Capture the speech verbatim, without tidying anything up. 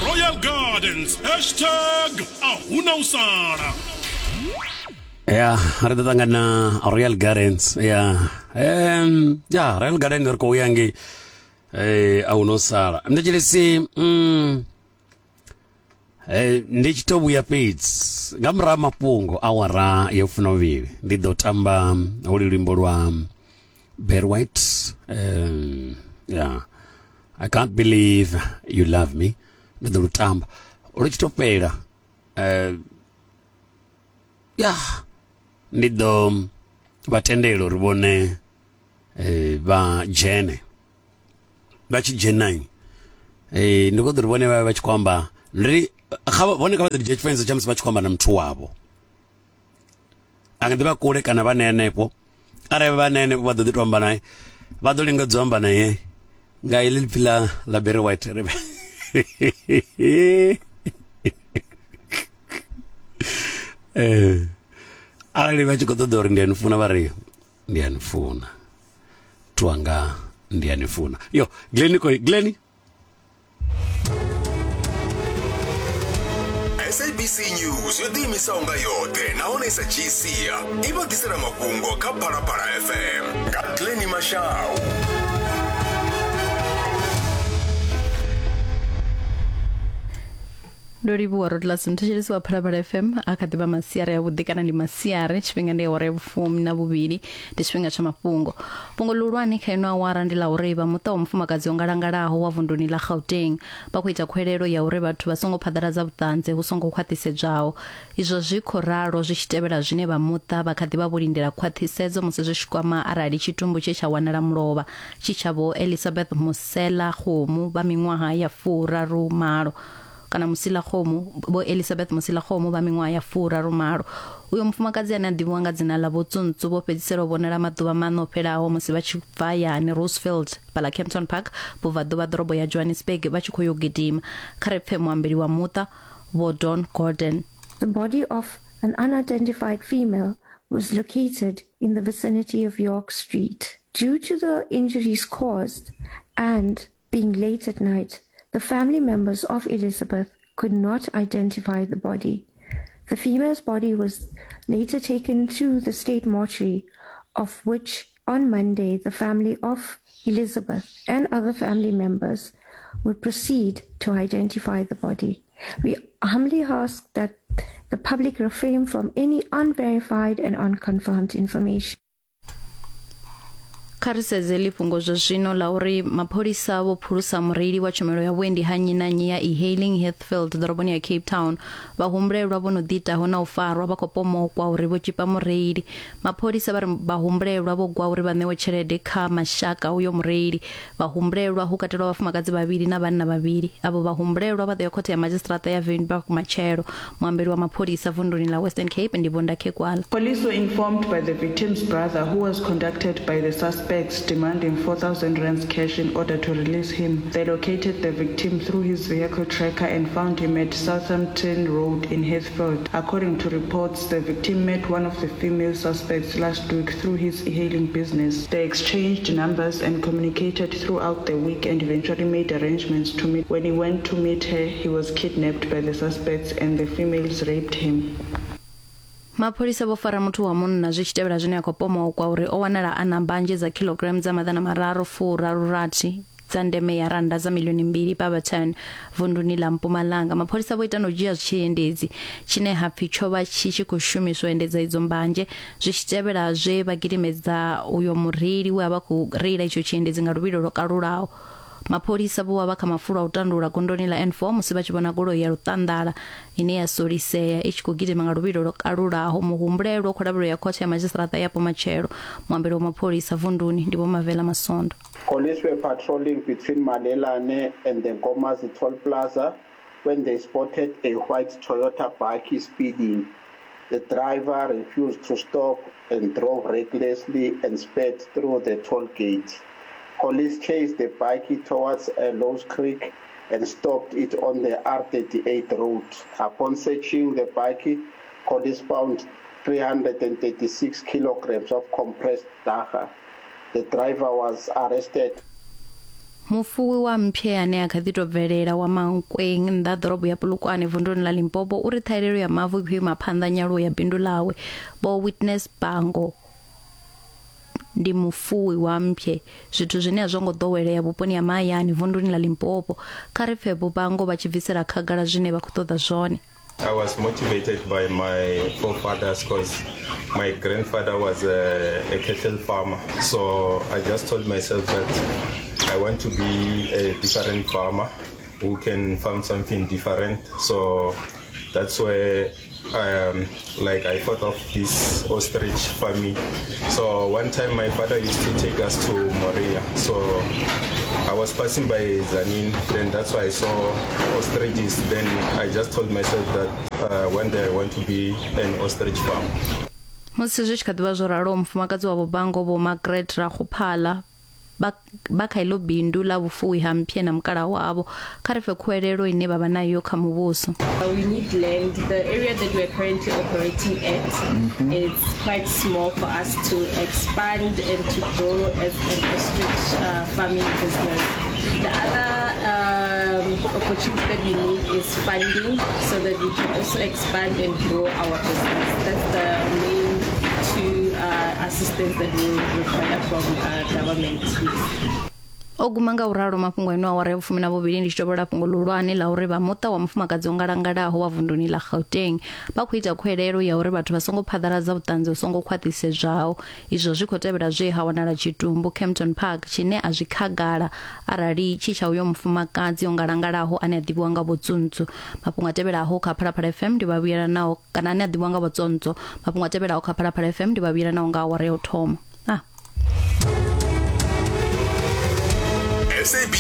Royal Gardens. Hashtag a huna u sala. Ya, ri ḓo ṱangana Royal Gardens. Ya, um, ya Royal Gardens ri khou ya ngei eh a huna u sala. Ndi tshilisi mm eh ndi tshi to vhuya fhedzi nga murahu ha mafhungo awara ya funa vhuvhili ndi ḓo tamba holu luimbo lwa Barry White. Um, yeah, I can't believe you love me. Ndi ḓo lu tamba lu tshi to fhela. Eh ya ndi ḓo vha tendela uri vhone eh vha dzhene vha tshi dzhena eh ndi khou ḓo uri vhone vha vha tshi khou amba ndi kha vhone kha vha ḓo dzhia tshifanyiso tsha musi vha tshi khou amba na muthu wavho a nga ḓi vha kule kana vha henefho arali vha henefho vha ḓo ḓi to amba naye vha ḓo lingedza u amba naye nga iḽi ipfi ḽa ḽa Barry White ri eh arali vha tshi khou ṱoḓa uri ndi a ni funa vha ri ndi a ni funa twanga ndi a ni funa. Yo Glenn koi Glenn. S A B C News yo ḓiimisaho nga yoṱhe nahone i sa dzhii sia i vha ḓisela mafhungo kha Phalaphala F M nga Glenn Mashau. Ndo livhuwa Rodlas mthetshelesi wa Phalaphala F M a kha ḓivha masiari a vhuḓi kana ndi masiari tshifhinga ndi awara ya vhufumi na vhuvhili ndi tshifhinga tsha mafhungo. Fhungo ḽihulwane kha ino awara ndi ḽa uri vha muṱa wa mufumakadzi o ngalangalaho wa vunduni ḽa Gauteng vha khou ita khwelelo ya uri vhathu vha songo phaḓaladza vhuṱanzi hu songo khwaṱhisedzwaho. Izwo zwi khou ralo zwi tshi tevhela zwine vha muṱa vha kha ḓivha vho lindela khwaṱhisedzo musi zwi tshi kwama arali tshitumbu tshe tsha wanala mulovha tshi tsha vho Elizabeth Musela Kgomo vha miṅwaha ya furaru malo kana Musila Kgomo bo Elizabeth Musila Kgomo vha miṅwaha ya furaru malo. Uyo mufumakadzi ane a ḓivhiwa nga dzina ḽa Vho Tsuntsu vho fhedzisela u vhonala maḓuvha maṋa o fhelaho musi vha tshi bva hayani Rosefield fhaḽa Kempton Park vhubvaḓuvha ḓorobo ya Johannesburg vha tshi khou yo gidima. Kha ri pfe muambeli wa muṱa Vho Don Gordon. The body of an unidentified female was located in the vicinity of York Street. Due to the injuries caused and being late at night, the family members of Elizabeth could not identify the body. The female's body was later taken to the state mortuary, of which on Monday the family of Elizabeth and other family members would proceed to identify the body. We humbly ask that the public refrain from any unverified and unconfirmed information. Kha ri sedze ḽi fhungo zwa zwino ḽa uri mapholisa vho phulusa mureili wa tshumelo ya vhuendi ha nnyi na nnyi ya e-hailing Heathfield ḓoroboni ya Cape Town. Vhahumbulelwa vho no ḓiitaho na u farwa vha khou pomokwa uri vho tshipa mureili. Mapholisa vha ri vhahumbulelwa vho gwa uri vha ṋewe tshelede kha mashaka uyo mureili. Vhahumbulelwa hu katelwa vhafumakadzi vhavhili na vhanna vhavhili. Avho vhahumbulelwa vha ḓo ya khothe ya madzhisiṱiraṱa ya Wynberg matshelo. Muambeli wa mapholisa vunduni ḽa Western Cape ndi Vho Ndakhegwala. Police were informed by the victim's brother, who was contacted by the suspects demanding four thousand rands cash in order to release him. They located the victim through his vehicle tracker and found him at Southampton Road in Heathfield. According to reports, the victim met one of the female suspects last week through his e-hailing business. They exchanged numbers and communicated throughout the week and eventually made arrangements to meet. When he went to meet her, he was kidnapped by the suspects and the females raped him. Mapholisa vho fara muthu wa munna zwi tshi tevhela zwine a khou pomokwa uri o wanala a na mbanzhe dza kilogram dza maḓana mararu furaru rathi dza ndeme ya randa dza milioni mbili Barberton vunduni ḽa Mpumalanga. Mapholisa vho ita no dzhia tshiendedzi tshine ha pfi tsho vha tshi tshi khou shumiswa endedza idzo mbanzhe zwi tshi tevhela zwe vha gidimedza uyo mureili we a vha khou reila itsho tshiendedzi nga luvhilo lwo kalulaho. Mapholisa vho vha kha mafulo a u tandulula gondoni ḽa N four musi vha tshi vhona goloi ya luṱanḓala ine ya solisea i tshi khou gidima nga luvhilo lwo kalulaho. Muhumbulelwa khou lavhelelwa ya khothe ya madzhisiṱiraṱa yapo matshelo. Muambeli wa mapholisa vunduni ndi Vho Mavela Masondo. Police were patrolling between Malelane and the Nkomazi Toll Plaza when they spotted a white Toyota bakkie speeding. The driver refused to stop and drove recklessly and sped through the toll gate. Police chased the bakkie towards uh, Lowe's Creek and stopped it on the R thirty-eight road. Upon searching the bakkie, police found three hundred thirty-six kilograms of compressed dagga. The driver was arrested. Mufuwi wa mphe ane a kha ḓi tou bvelela wa Mankweng nnḓa ḓorobo ya Polokwane vunduni ḽa Limpopo uri ṱhahelelo ya mavu i khou ima phanḓa nyaluwo ya bindu ḽawe. Vho Witness Bango ndi mufuwi wa mphe, zwithu zwine a zwo ngo ḓowelea vhuponi ha mahayani vunduni ḽa Limpopo. Kha ri pfe Vho Bango vha tshi bvisela khagala zwine vha khou ṱoḓa zwone. I was motivated by my forefathers because my grandfather was a, a cattle farmer. So I just told myself that I want to be a different farmer who can farm something different. So that's where um, like I thought of this ostrich farming. So one time my father used to take us to Moria. So I was passing by Zanin, then that's why I saw ostriches. Then I just told myself that uh, one day I want to be an ostrich farm. Musi zwi tshi kha ḓivha zwo ralo, mufumakadzi wa Vho Bango Vho Margaret Ragophala vha kha iḽo bindu ḽa vhufuwi ha mphe na mukala wavho. Kha ri pfe khuwelelo ine vha vha nayo kha muvhuso. We need land. The area that we are currently operating at mm-hmm. is quite small for us to expand and to grow as an ostrich uh, farming business. The other um, opportunity that we need is funding so that we can also expand and grow our business. That's the main two uh, assistance that we require from uh, government. O guma nga uralo mafhungo ino awara ya vhufumi na vhuvhili ndi tshi tovhola fhungo ḽihulwane ḽa uri vha muṱa wa mufumakadzi o ngalangalaho wa vunduni ḽa Gauteng vha khou ita khuwelelo ya uri vhathu vha songo phaḓaladza vhuṱanzi hu songo khwaṱhisedzwaho. Izwo zwi khou tevhela zwe ha wanala tshitumbu Kempton Park tshine a zwi khagala arali tshi tsha uyo mufumakadzi o ngalangalaho ane a ḓivhiwa nga Vho Tsuntsu. Mafhungo a tevhelaho kha Phalaphala F M ndi vha vhuyelanaho kana ane a ḓivhiwa nga Vho Tsontso. Mafhungo a tevhelaho kha Phalaphala F M ndi vha vhuyelanaho nga awara ya u thoma. Ah. S A B